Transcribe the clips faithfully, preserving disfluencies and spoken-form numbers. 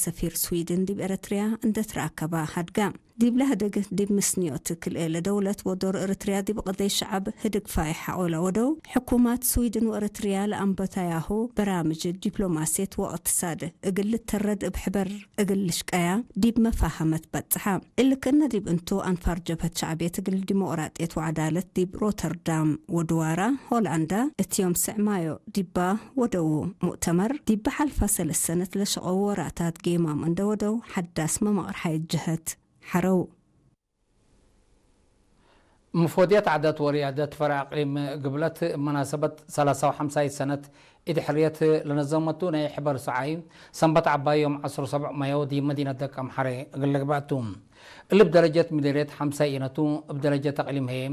ሰፊር ስዊድን ዲብ ኤረትርያ እንደ ትረአከባ ሀድጋ። ዲብለ ህድግ ዲብ ምስንዮት ክልኤ ለደውለት ወዶር ኤረትርያ ዲብ ቅደይ ሸዐብ ህድግ ፋይሕ ሐቆ ለወደው ሕኩማት ስዊድን ወኤረትርያ ለአንበታያሁ በራምጅ ዲፕሎማስየት ወእቅትሳድ እግል ልተረድ እብ ሕበር እግል ልሽቀያ ዲብ መፋሀመት በጽሐ። እሊ ክእነ ዲብ እንቱ አንፋር ጀብሀት ሸዕብየት እግል ዲሞቅራጥየት ወዐዳለት ዲብ ሮተርዳም ወድዋራ ሆላንዳ እት ዮም ስዕ ማዮ ዲባ ወደዉ ሙእተመር፣ ዲብ ሐልፋ ሰለስ ሰነት ለሸቀው ወራታት ጌማም እንደ ወደው ሐዳስ መመቅር ሐየት ጀህት ሐረው። መፎድየት ዓዳት ወርያደት ፈርዕ አቅሊም ግብለት እብ መናሰበት ሰላሳ ወሐምሳይ ሰነት ኢድ ሕርየት ለነዘመቱ ናይ ሕበር ሰዓይ ሰንበት ዐባይ ዮም ዐስር ሰብዕ ማዮ ዲብ መዲነት ደቀምሐሬ እግል ልግበእ ቱ። እሊ እብ ደረጀት ምዴርየት ሐምሳይ ኢነቱ፣ እብ ደረጀት አቅሊም ህዬ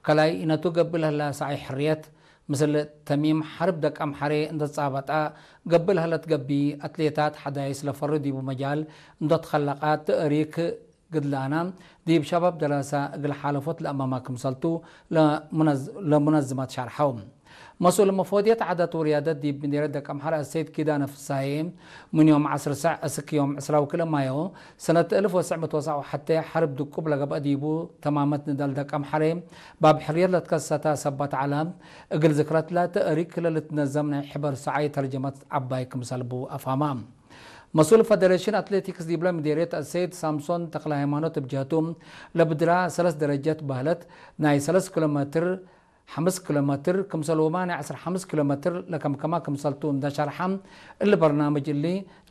ከላይ ኢነቱ ገብእ ለህላ ሰዓይ ሕርየት፣ ምስል ተሚም ሐርብ ደቀምሐሬ እንደ ትጻበጣ ገብእ ለህለት ገቢ አትሌታት ሐዳይስ ለፈሩ ዲቡ መጃል እንዶ ትከለቃት ትእሪክ ግድላና ዲብ ሸባብ ደራሳ እግል ሓለፎት ለአማማ ክምሰልቱ ለሙነዝ-፣ ለሙነዝማት ሸርሐው። መስኡል መፎድየት ዓዳት ወርያደት ዲብ ምዴርየት ደቀምሐር አሰይድ ኪዳነ ፍሳሄ፣ ምን ዮም ዐስር ሰዕ እስክ ዮም ዕስራ ወክልኤ ማዮ ሰነት እልፍ ወትስዕ ምእት ወሰብዓ ወሐቴ ሐርብ ድቁብ ለገብአ ዲቡ ተማመት ንዳል ደቀምሐሬ ባብ ሕርየት ለትከሰተ ሰበት ዐለ፣ እግል ዝክረትለ ትእሪክ ለልትነዘም ናይ ሕበር ሰዓይ ተርጀመት ዐባይ ክምሰል ቡ አፋማ። መስኡል ፈደሬሽን አትሌቲክስ ዲብለ ምዴርየት አሰይድ ሳምሶን ተክለሃይማኖት እብ ጀህቱ፣ ለብድራ ሰለስ ደረጀት በህለት ናይ ሰለስ ኪሎ ሜትር፣ ሐምስ ኪሎ ሜትር፣ ክምሰልሁመ ናይ ዐስር ሐምስ ኪሎ ሜትር ለከምከማ ክምሰልቱ እንደ ሸርሐ፣ እሊ በርናምጅ እሊ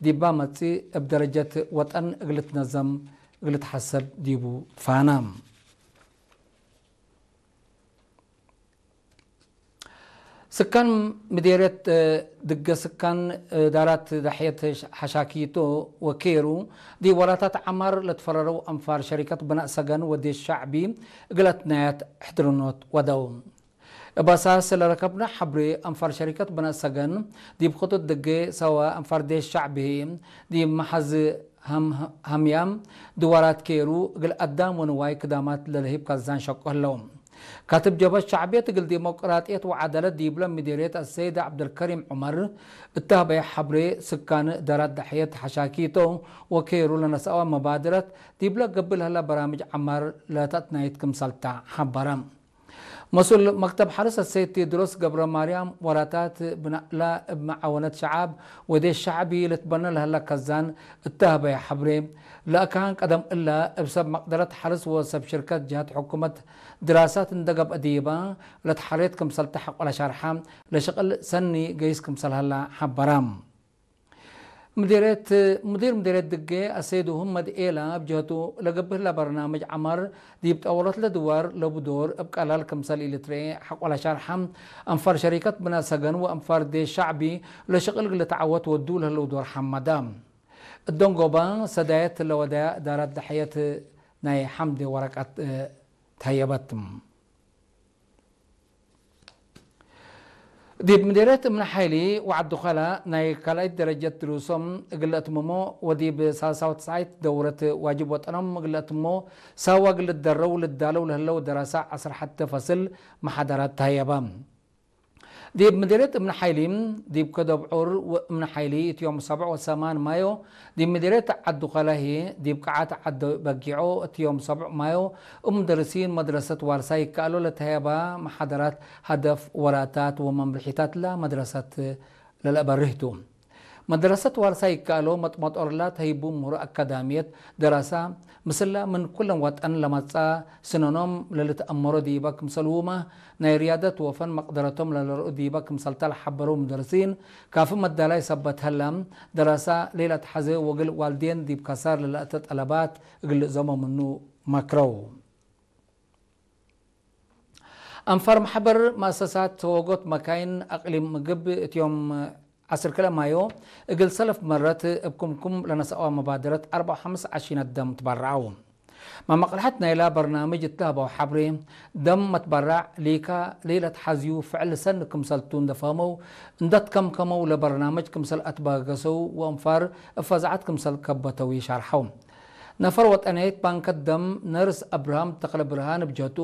ዲባ መጽእ እብ ደረጀት ወጠን እግል ልትነዘም እግል ልትሐሰብ ዲቡ ፋና። ስካን ምዴርየት ድገ ስካን እዳራት ዳሕየት ሐሻኪቶ ወኬሩ ዲብ ወራታት ዐማር ለትፈረረው አንፋር ሸሪከት ብናእ ሰገን ወዴሽ ሸዕቢ እግል አትናያት ሕድርኖት ወደው። እብ አሳስ ለረከብነ ሐብሬ አንፋር ሸሪከት ብናእ ሰገን ዲብ ክጡጥ ድጌ ሰዋ አንፋር ዴሽ ሸዕቢ ህይ ዲብ መሐዝ ሀም-፣ ሀምያም ድዋራት ኬሩ እግል አዳም ወንዋይ ክዳማት ለልህብ ካዛን ሸቁ ህለው። ካትብ ጀብሀት ሸዕብየት እግል ዲሞቅራጥየት ወዐዳለት ዲብለ ምዴርየት አሰይድ ዐብደልከሪም ዑመር እተ ሀበየ ሐብሬ፣ ስካን እዳራት ዳሕየት ሐሻኪቶ ወኬሩ ለነስአወ መባድረት ዲብለ ገብእ ለህለ በራምጅ ዐማር ለተአትናይት ክምሰልታ ሐበረ። መስኡል መክተብ ሐርስ አሰይድ ቴድሮስ ገብረማርያም፣ ወራታት ብናእላ እብ መዓወነት ሸዓብ ወዴሽ ሸዕቢ ልትበነ ለህለ ከዛን እተ ሀበየ ሐብሬ፣ ለአካን ቀደም እለ እብ ሰብ መቅደረት ሐርስ ወሰብ ሽርከት ጀሀት ሕኩመት ድራሳት እንደ ገብአ ዲበ ለትሐሬት ክምሰልተ ሐቆ ለሸርሐ፣ ለሽቅል ሰኒ ገይስ ክምሰል ሀላ ሐበረ። ምዲርየት፣ ምዲር ምዲርየት ድጌ አሰይድ ሁመድ ኤላ እብ ጀህቱ፣ ለገብእ ለበርናምጅ ዐማር ዲብ ጠወለት ለድዋር ለቡ ዶር እብ ቀላል ክምሰል ኢልትረኤ ሐቆ ለሸርሐ፣ አንፋር ሸሪከት ብናእ ሰገን ወአንፋር ዴሽ ሸዕቢ ለሽቅል እግል ልትዐወት ወዱ ለህለው ዶር ሐመደ። እደንጎበ ሰዳየት ለወደያ እዳራት ደሐየት ናይ ሐምዴ ወረቀት ተሀየበት። ዲብ ምዴርየት እምነ ሓይሊ ወዐዲ ኸላ ናይ ካልኣይት ደረጀት ድሩሶም እግል ለአትምሞ ወዲብ ሳልሳ ወትስዓይት ደውረት ዋጅብ ወጠኖም እግል ለአትምሞ ሳዋ እግል ልትደረው ልዳለው ለህለው ደራሳ ዐስር ሐቴ ፈስል መሓደራት ተሀየበ። ዲብ ምዴርየት እምነ ሓይሊ፣ ዲብ ከደብ ዑር እምነ ሓይሊ እት ዮም ሰብዕ ወሰማን ማዮ፣ ዲብ ምዴርየት ዐዱ ከላ ህዬ፣ ዲብ ቅዓት ዐደ በጊዖ እት ዮም ሰብዕ ማዮ፣ እብ ሙደርሲን መድረሰት ዋልሳይ ይከአሎ ለተሀየባ መሓደራት፣ ሀደፍ፣ ወራታት ወመምርሒታት ለመድረሰት ለለአበርህ ቱ። መድረሰት ዋልሳይ ይከአሎ መጥመጦርላ ተህይቡ ምሁር አካዳምየት ደራሳ፣ ምስለ ምን ኩለን ወጠን ለመጽአ ስነኖም ለልትአመሮ ዲበ ክምሰልሁመ፣ ናይ ርያደት ወፈን መቅደረቶም ለለርኡ ዲበ ክምሰልተ ለሐበረው ሙደርሲን፣ ካፊ መዳላይ ሰበት ሀላ፣ ደራሳ ሌለአትሐዜ ወእግል ዋልዴን ዲብ ከሳር ለለአተ ጠለባት እግል ልእዘሞ ምኑ መክረው። አንፋር መሕበር መአሰሳት ተወጎት መካይን አቅሊም ምግብ እት ዮም ዐስር ክልኤ ማዮ እግል ሰለፍ መረት እብ ክምኩም ለነስአወ መባደረት አርበዕ ወሐምስ ዐሺነት ደም ትበረዐው። መመቅለሐት ናይላ በርናምጅ እት ለሀበው ሐብሬ፣ ደም መትበራዕ ሊካ ሌለትሐዝዩ ፍዕል ሰኒ ክምሰልቱ እንደ ፈህመው፣ እንደ ትከምከመው ለበርናምጅ ክምሰል አትበገሰው ወአንፋር እብ ፈዛዐት ክምሰል ከበተው ይሻርሐው። ነፈር ወጠንየት ባንከት ደም ነርስ አብርሃም ተክለብርሃን እብ ጀህቱ፣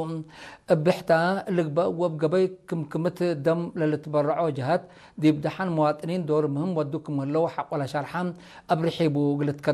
እብ ብሕታ ልግበእ ወእብ ገበይ ክምክምት ደም ለልትበረዖ ጀሀት፣ ዲብ ደሐን መዋጥኒን ዶር ምህም ወዱ ክም ህለው ሐቆለ ሸርሐ አብርሒቡ እግል